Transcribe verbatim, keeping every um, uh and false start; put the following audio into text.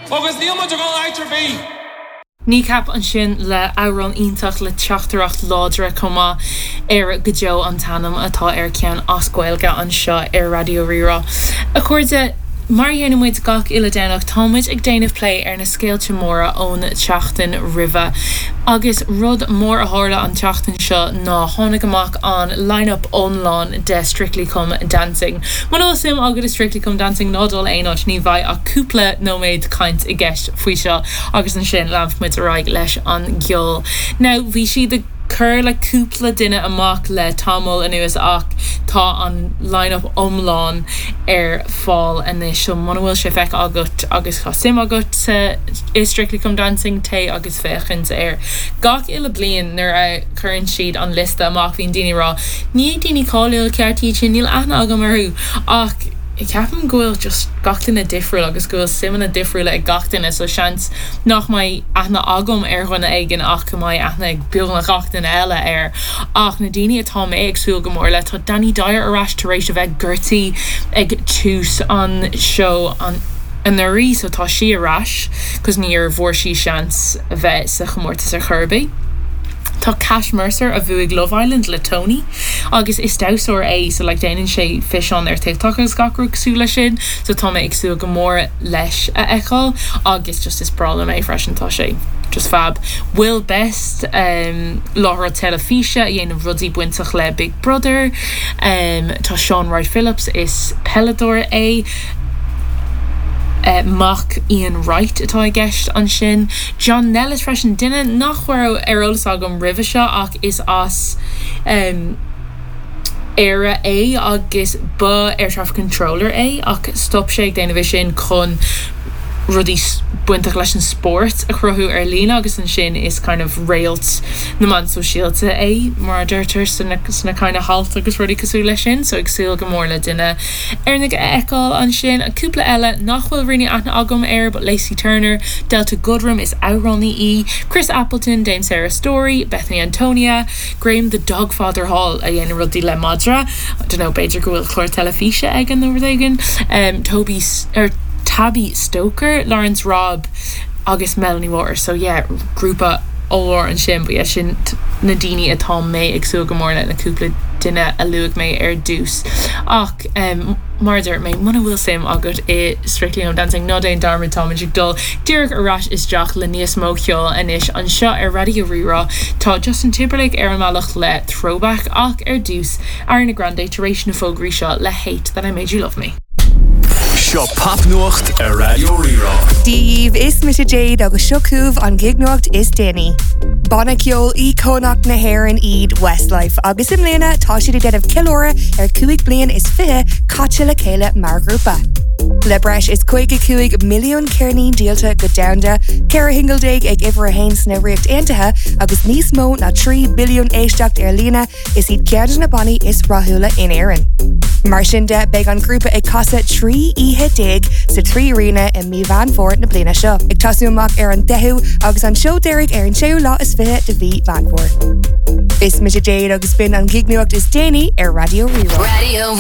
Agus níl muid ag dul áit ar bith. Kneecap ansin le amhrán iontach le teachtaireacht láidir chomh maith Éire go deo an t-ainm atá ar ceann as Gaeilge anseo ar Raidió Rí-Rá. A chairde mar a dhéanann muid gach uile Domhnach táimid ag déanamh plé ar na scéalta móra ón tseachtain roimhe. Agus rud mór a tharla an tseachtain seo ná tháinig amach an line-up iomlán de Strictly Come Dancing. Muna bhfuil suim agat i Strictly Come Dancing ná dul aon áit ní bheidh ach cúpla nóiméad caint i gceist faoi seo agus ansin leanfaimid ar aghaidh leis an gceol. Now bhí siad ag cur le cúpla duine amach le tamall anuas ach tá an line-up iomlán ar fáil anois so muna bhfuil sé feicthe agat agus tá suim agat i Strictly Come Dancing téigh agus féachaint air. Gach uile bliain nuair a chuireann siad an liosta amach bíonn daoine ag rá ní daoine cáiliúla ceart iad sin níl aithne agam orthu ach ceapaim go bhfuil just gach duine difriúil agus go bhfuil suimeanna difriúla ag gach duine so seans nach mbeidh aithne agam ar dhuine éigin ach go mbeidh aithne ag beagnach gach duine eile air ach na daoine atá mé ag súil go mór le tá Danny Dyer ar ais tar éis a bheith gortaithe ag tús an seó an anuraidh so tá sí ar ais cos níor bhfuair sí seans a bheith sa chomórtas ar chor ar bith. Tá Cash Mercer a bhuaigh Love Island le Tony agus is damhsóir é so like déanann sé físeán ar TikTok agus gach rud cosúil leis sin so tá mé ag súil go mór leis a fheiceáil agus just is breá liom é freisin tá sé just fab. Will Best um, láithreoir teilifíse a dhéanann rudaí bainteach le Big Brother um, tá Shaun Wright-Phillips is peileadóir é. Uh, mac Ian Wright atá i gceist ansin. John Nellis freisin duine nach raibh ar eolas agam roimhe seo ach is as um, Éire é agus ba air traffic controller é ach stop sé ag déanamh sin chun rudaí bainteach leis an spórt a chruthú ar líne agus ansin is kind of réalt na meán sóisialta é mar a deirtear sna sna kind of halt agus rudaí cosúil leis sin, so ag súil go mór le duine Éireannach a fheiceáil ansin a cúpla eile nach bhfuil really aithne agam air but Lacey Turner, Delta Goodrem is amhránaí í, Chris Appleton, Dame Sarah Story, Bethany Antonia, Graham the Dogfather Hall a dhéanann rudaí le madra, don't know b'fhéidir go bhfuil clár teilifíse aige nó rud éigin, um, Toby er Tabby Stoker, Lawrence Robb agus Melanie Waters so yeah grúpa ollmhór ansin but yeah sin na daoine atá mé ag súil go mór le na cúpla duine a luaigh mé ar dtús ach um, mar dúirt mé muna bhfuil suim agat i Strictly Come Dancing ná déan dearmad táimid ag dul díreach ar ais isteach le níos mó ceoil anois anseo ar Raidió Rí-Rá tá Justin Timberlake ar an mbealach le throwback ach ar dtús Ariana Grande tar éis na fógraí seo le hate that I made you love me. Seo popnuacht ar Raidió Rí-Rá. Díomh is mise Jade agus seo chugaibh an gignuacht is déanaí. Banna ceoil íocónach na hÉireann iad Westlife agus i mbliana tá siad ag déanamh ceiliúradh ar cúig bliain is fiche caite le chéile mar ghrúpa. Le breis is caoga cúig milliún ceirnín díolta go domhanda, ceithre shingil déag ag uimhir a haon sna Ríocht Aontaithe agus níos mó ná trí billiún éisteacht ar líne is iad ceann de na bannaí is rathúla in Éirinn. Mar sin de beidh an grúpa ag casadh trí oíche déag sa trí arena i mí Mheán Fómhair na bliana seo. Ag tosú amach ar an deichiú agus an seó deiridh ar an séú lá is fiche de mhí Mheán Fómhair. Is mise Jade agus b'in an gignuacht is déanaí ar Raidió Rí-Rá. Radio